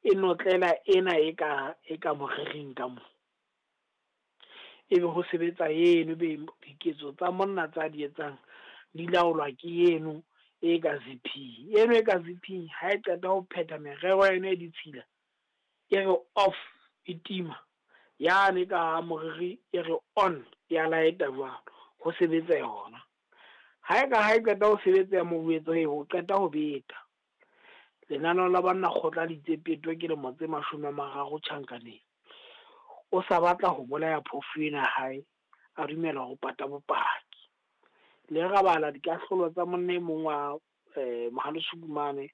E notlela ena e ka e ka morering ka mo. Ebe ho sebetsa eno, ebe diketso tsa monna tsa di etsang di laolwa ke eno e ka ziphing. Eno e ka ziphing ha e qeta ho phetha merero ya yona e ditshila, e re off, e tima. Yane ka moriri e re on, ya light-a jwalo, ho sebetsa yona. Ha e ka ha e qeta ho sebetsa moetso o qeta ho beta. Lenaneo la banna kgotla le itse peto ke lemo tse 30 tjhankaneng. O sa batla ho bolaya phofu ena ya hae, a dumela ho pata bopaki. Le ra bala dikahlolo tsa monna e mong wa Mohale Sukumane,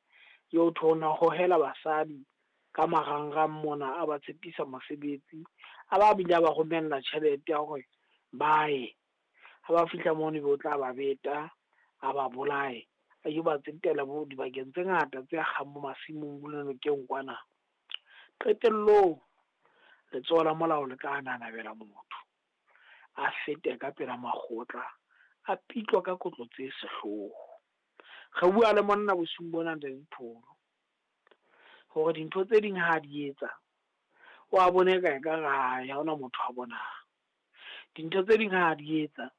eo thwe o na hohela basadi ka marangrang mona, a ba tshepisa mosebetsi, a ba bile a ba romella tjhelete ya hore ba ye. Ha ba fihla mono ebe o tla ba beta, a ba bolaye, a yo ba tsetela bo dibakeng tse ngata tse akgang bo masimong bo nokeng kwana. Qetellong letsoho la molao le tla nanabela motho, a fete ka pela makgotla, a pitlwa ka kotlo tse sehloho. Re bua le monna bosiung bona Ntate Dipholo, hore dintho tse ding ha di etsa, o a bone eka ekare ha hona motho a bonang. Dintho tse ding ha di etsa,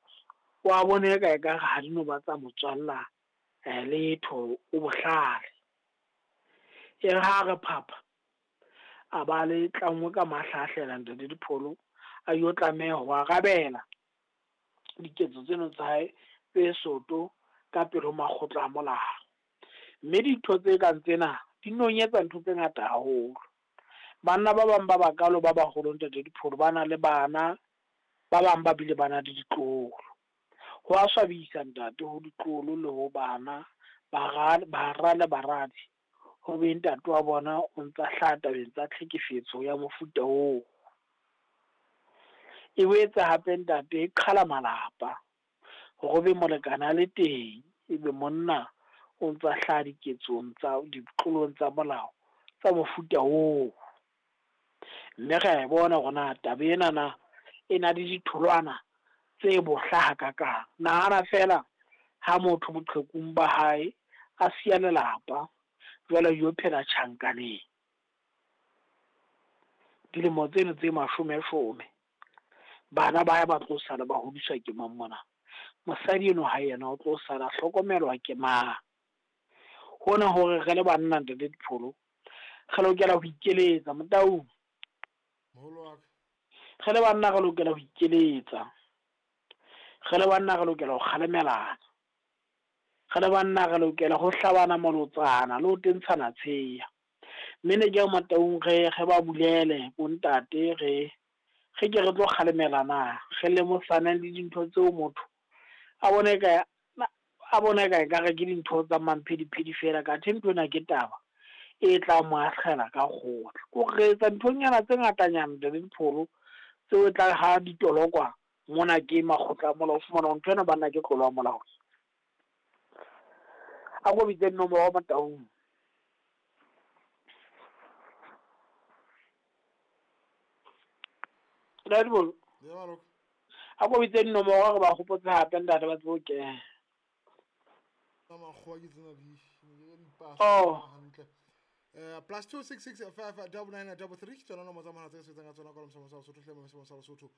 o a bone eka ekare ha di no ba tsa motswalla letho, o bohlale. E re ha re phapha, a ba le tlangwe ka mahlahlela Ntate Dipholo, a yo tlameha ho arabela diketso tseno tsa hae tse soto ka pele ho makgotla a molao. Mme dintho tse kang tsena di nonyetsa ntho tse ngata haholo. Banna ba bang ba bakalo ba baholo Ntate Dipholo ba na le bana, ba bang ba bile ba na le ditloholo. Ho a swabisa ntate ho ditloholo le ho bana, bara le baradi, ho be ntate wa bona o ntsa hlaha tabeng tsa tlhekefetso ya mofuta oo. E boetse hape ntate e qhala malapa, hore be molekane a le teng, ebe monna o ntsa hlaha diketsong tsa ditlolong tsa molao tsa mofuta oo. Mme re a e bona hore na taba enana e na le ditholwana tse bohla hakakang. Nahana feela ha motho boqhekung ba hae a siya lelapa, jwale a yo phela tjhankaneng dilemo tseno tse mashome-shome. Bana ba hae ba tlo sala ba hodiswa ke mang mona? Mosadi eno ha yena o tlo sala hlokomelwa ke mang? Hona hore re le banna Ntate Dipholo, re lokela ho ikeletsa Motaung. Moholo wa ka. Re le banna re lokela ho ikeletsa. Re le banna re lokela ho kgalemelana. Re le banna re lokela ho hlabana molotsana le ho tentshana tsheya. Mme ne ke re Motaung re ba bulele bontate, re ke re tlo kgalemelana, re lemosane le dintho tseo motho a bone ka ekare ke dintho tsa mamphediphedi fela, kathe ntho ena ke taba e tla mo akgela ka kgotla. Ko re etsa dinthonyana tse ngatanyana Ntate Dipholo, tseo e tla ha ditolokwa mona ke makgotla a molao, o fumana hore ntho ena banna ke tlolo ya molao. A ko bitse dinomoro Motaung. Ntate Dipholo. A ko bitse dinomoro re ba hopotse hape ntate ba tsebe ho kena. Makgowa ke tsena di di hantle. +266 5 99 33 ke tsona nomoro tsa mohala tse re sebetsang ka tsona ka Mosamo sa Lesotho, hle Mosamo sa Lesotho.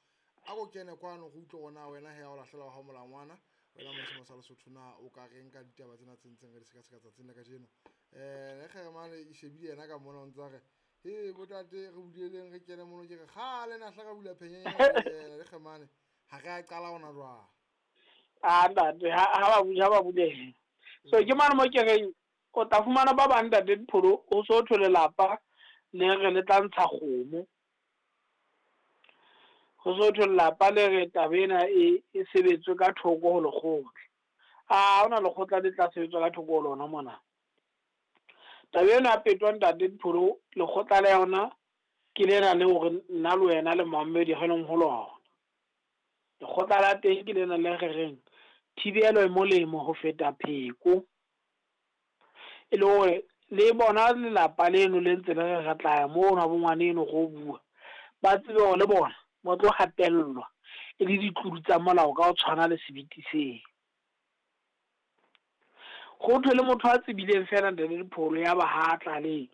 A ko kene kwano re utlwe hore na wena he o lahlela wa hao molangwana, wena Mosamo sa Lesotho na o ka reng ka ditaba tsena tse ntseng re di sekaseka tsatsing la kajeno. Le Kgeremane e shebile yena ka mona o ntsa re, he botate re buleleng re kene mono, ke re kgale na hla re bula phenyenyana le Kgeremane ha re a qala hona jwang. Ah ntate ha ba bulele. So ke mane mo ke reng o tla fumana ba bang Ntate Dipholo o so thwe lelapa le re le tla ntsha kgomo. Ho so thwe lelapa le re taba ena e sebetswe ka thoko ho lekgotla. Ah hona lekgotla le tla sebetswa ka thoko ho lona mona. Taba ena ya petwa Ntate Dipholo, lekgotla la yona ke lena le hore nna le wena le Mohammed re leng ho lona. Lekgotla la teng ke lena le re reng thibelo e molemo ho feta pheko. E le hore le bona lelapa leno le ntse le re tla ya mono bo ngwaneno go bua, ba tsebe hore le bona ba tlo hatellwa e le ditlolo tsa molao ka ho tshwana le sebiti seo. Ho thwe le motho a tsebileng fela Ntate Dipholo ya ba ha tlalehe,